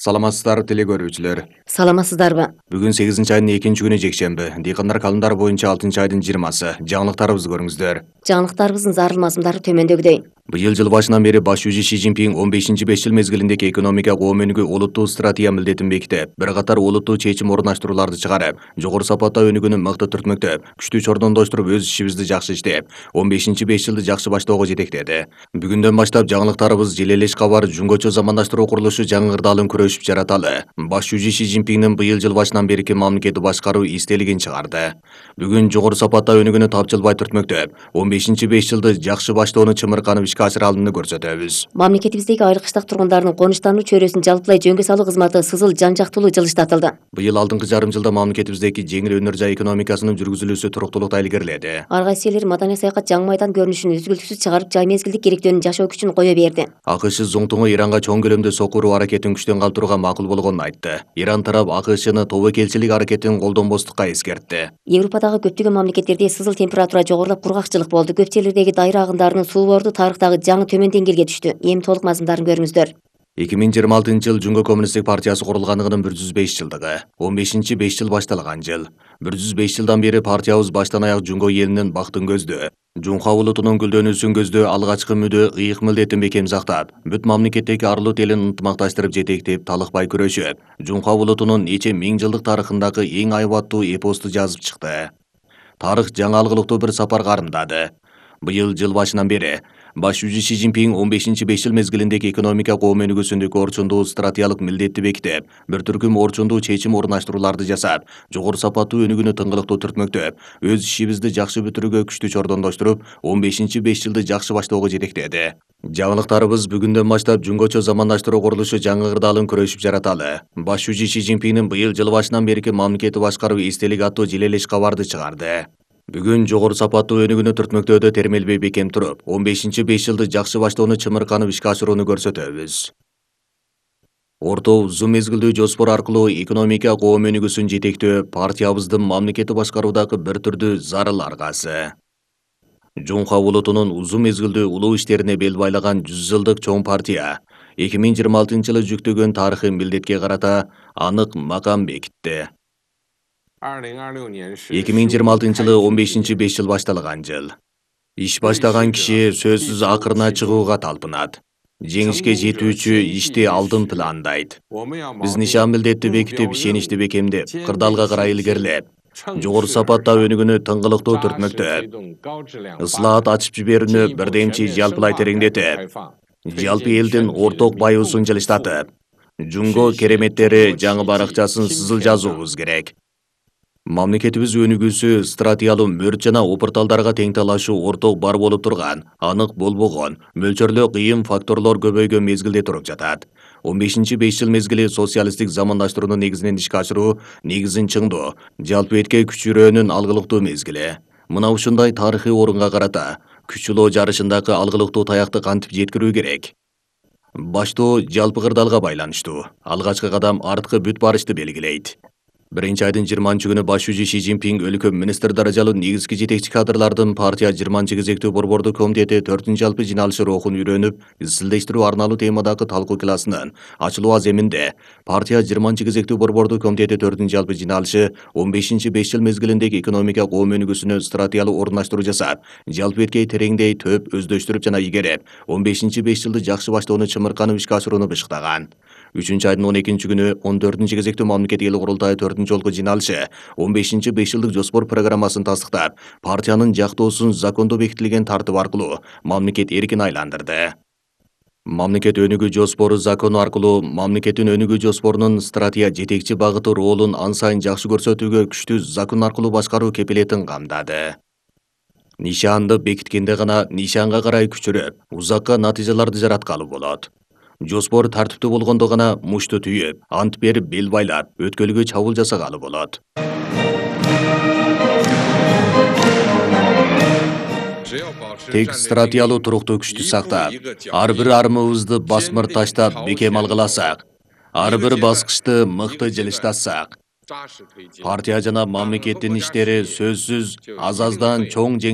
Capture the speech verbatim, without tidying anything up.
Саламатсыздар теле көрүүчүлөр. Саламатсыздарбы? Бүгүн сегизинчи айдын экинчи күнү жекшемби. Дыйкандар календары боюнча алтынчы айдын жыйырмасы. Жаңылыктарыбызды көрүңүздөр. Жаңылыктарыбыздын зарыл мазмундары төмөндөгүдөй. Быйыл жыл башынан бери баш жүзү Си Цзиньпин он бешинчи беш жыл мезгилиндеги экономика көмөнүгү олуттуу стратегия милдетин бекитип, бир катар олуттуу чечим орундаштырууларды чыгарып, жогору сапаттагы өнүгүүнү мыкты түртмөктөп, күчтүү чордондоштуруп өз ишибизди жакшы иштеп, он бешинчи беш жылды жакшы баштоого жетектеди. Бүгүндөн баштап жаңылыктарыбыз Желелеш кабар жумгочо замандаштыруу курулушу жаңы ырдаалын күрөшүп жараталы. Баш жүзү Си Цзиньпиндин быйыл жыл башынан берки мамлекетти башкаруу эстелигин чыгарды. Бүгүн жогору сапаттагы өнүгүүнү тапжылбай түртмөктөп, он бешинчи беш жылды жакшы баштоону чымырканып ишке ашыра алынды көрсөтөбүз. Мамлекетибиздеги айыл кыштак тургундардын конуштануу чөйрөсүн жалпылай жөнгө салуу кызматы сызыл жан жактуулуу жылыштатылды. Быйыл алдыңкы жарым жылда мамлекетибиздеги жеңил өнөр жай экономикасынын жүргүзүлүүсү туруктуулукта илгериледи. Ар кайсы элдер маданий саякат жаңы майдан көрүнүшүн үзгүлтүксүз чыгарып, жай мезгилдик керектөөнүн жашоо күчүн кое берди. АКШ зоңтуңу Иранга чоң көлөмдө сокку уруу аракетин күчтөн калтырууга макул болгонун айтты. Иран тарап АКШны тобокелчилик аракетин колдонбостукка эскертти. Европадагы көптөгөн мамлекеттерде сызыл температура жогорулап, кургакчылык болду. Көп жерлердеги дайра агындарынын суу борду тарыхтагы жаңы төмөн деңгээлге түштү. Эми толук мазмундарын көрүңүздөр. эки миң жыйырма алтынчы жыл Жумго коммунисттик партиясы курулганлыгынын бир жүз беш жылдыгы. он бешинчи беш жыл башталган жыл. бир жүз беш жылдан бери партиябыз баштан аяк Жумго элинин бактын көздөө, Жунха улутунун гүлдөнүүсүн көздөө алгачкы мүдө ыйык милдетин бекем сактап, бүт мамлекеттеги арлуу элин ынтымакташтырып жетектеп, талыкпай күрөшүп, Жунха улутунун нече миң жылдык тарыхындагы эң айбаттуу эпосту жазып чыкты. Тарых жаңы алгылыктуу бир сапар карымдады. Быйыл жыл башынан бери баш жүзү Си Цзиньпин он бешинчи беш жыл мезгилиндеги экономика көмөнүгүсүндөгү орчундуу стратегиялык милдетти бекитип, бир түркүм орчундуу чечим орундаштырууларды жасап, жогору сапаттуу өнүгүүнү тыңгылыктуу түртмөктөп, өз ишибизди жакшы бүтүрүүгө күчтүү чордондоштуруп, он бешинчи беш жылды жакшы баштоого жетектеди. Жаңылыктарыбыз бүгүндөн баштап жумгочо замандаштыруу курулушу жаңы ырдаалын күрөшүп жараталы. Баш жүзү Си Цзиньпиндин быйыл жыл башынан берки мамлекетти башкаруу эстелик аттуу Желелеш кабарды чыгарды. Бүгүн жогору сапаттуу өнүгүүнү түртмөктөөдө термелбей бекем туруп, он бешинчи беш жылды жакшы баштоону чымырканып ишке ашырууну көрсөтөбүз. Орто узун мезгилдүү жоспор аркылуу экономика көмөнүгүсүн жетектөө партиябыздын мамлекетти башкаруудагы бир түрдүү зарыл аргасы. Жунха улутунун узун мезгилдүү улуу иштерине бел байлаган жүз жылдык чоң партия эки миң жыйырма алтынчы жылы жүктөгөн тарыхый милдетке карата анык макам бекитти. эки миң жыйырма алтынчы жылы он бешинчи беш жыл башталган жыл. Иш баштаган киши сөзсүз акырына чыгууга талпынат. Жеңишке жетүүчү ишти алдын пландайт. Биз нишан милдетти бекитип, ишеничти бекемдеп, кырдаалга карай илгерилеп, жогору сапатта өнүгүүнү тыңгылыктуу түртмөктөп, ыслаат ачып жиберүүнү бирдемчи жалпылай тереңдетип, жалпы элдин орток байыбысын жылыштатып, Жумго кереметтери жаңы баракчасын сызыл жазуубуз керек. Мамлекетибиз өнүгүүсү стратегиялуу мөрт жана опурталдарга тең талашуу орток бар болуп турган, анык болбогон, мөлчөрлөө кыйын факторлор көбөйгөн мезгилде туруп жатат. он бешинчи беш жыл мезгили социалисттик замандаштыруунун негизинен ишке ашыруу, негизин чыңдоо, жалпы этке күчүрөөнүн алгылыктуу мезгили. Мына ушундай тарыхый орунга карата күч-улоо жарышындагы алгылыктуу таякты кантип жеткирүү керек? Баштоо жалпы кырдаалга байланыштуу. Алгачкы кадам арткы бүт барышты белгилейт. Биринчи айдын жыйырманчы күнү баш жүзү Си Цзиньпин өлкө министр даражалуу негизги жетекчи кадрлардын партия жыйырманчы кезектүү борбордук комитети төртүнчү жалпы жыйналышы рухун үйрөнүп, изилдештирүү арналуу темадагы талкуу классынын ачылуу аземинде партия жыйырманчы кезектүү борбордук комитети төртүнчү жалпы жыйналышы он бешинчи беш жыл мезгилиндеги экономика көмөнүгүсүнө стратегиялуу орундаштыруу жасап, жалпы эткей тереңдей төп өздөштүрүп жана игереп, он бешинчи беш жылды жакшы баштоону чымырканып ишке ашырууну бышыктаган. үчүнчү айдын он экинчи күнү он төртүнчү кезектүү мамлекеттик эл курултайы төртүнчү жолку жыйналышы он бешинчи беш жылдык жоспор программасын тастыктап, партиянын жактоосун закондо бекитилген тартып аркылуу мамлекет эркин айландырды. Мамлекет өнүгүү жоспору закону аркылуу мамлекеттин өнүгүү жоспорунун стратегия жетекчи багыты ролун ан сайын жакшы көрсөтүүгө күчтүү закон аркылуу башкаруу кепилетин камдады. Нишанды бекиткенде гана нишанга карай күчөрүп, узакка натыйжаларды жараткалы болот. Жоспор тартиптүү болгондо гана мушту түйүп, ант берип бел байлап, өткөлгө чабуул жасагалы болот. Тек стратегиялуу туруктуу күчтү сактап, ар бир армыбызды басмыр таштап бекем алгыласак, ар бир баскычты мыкты жылыштатсак, партия жана мамлекеттин иштери сөзсүз аз-аздан чоң жеңиш